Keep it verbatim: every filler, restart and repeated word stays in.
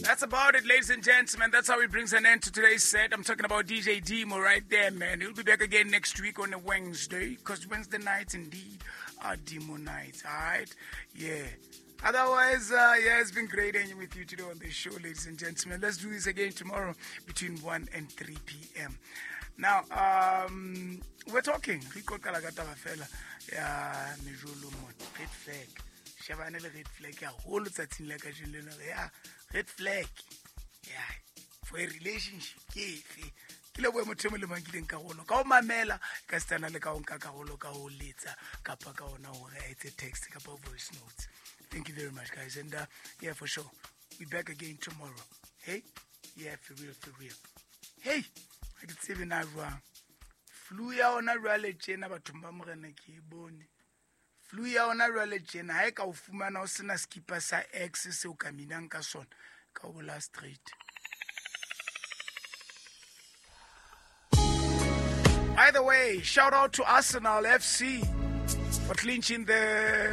That's about it, ladies and gentlemen. That's how it brings an end to today's set. I'm talking about D J Demo right there, man. He'll be back again next week on a Wednesday, because Wednesday nights, indeed, are Demo nights, all right? Yeah. Otherwise, uh, yeah, it's been great hanging with you today on the show, ladies and gentlemen. Let's do this again tomorrow between one and three p m Now, um, we're talking. Rico Kalagata fela ya mejolo mo red flag. Shebane le red flag ya holo tsatsing la kajeno lena ya red flag. Yeah, for a relationship ke efe? Ke lebohe motho e mong le mang kileng karolo. Ka ho mamela, ka setsana le ka ho nka karolo, ka ho letsa, kapa ka hona hore a etse text kapa voice notes. Thank you very much, guys. And, uh, yeah, for sure, we're back again tomorrow. Hey? Yeah, for real, for real. Hey! Ha ke tsebe na jwang. Flu ya hona jwale tjena bathong ba Morena ke e bone. Flu ya hona jwale tjena ha e ka o fumana o sena skipa sa X seo ka minang ka sona, ka o bolaya straight. By the way, shout out to Arsenal F C for clinching the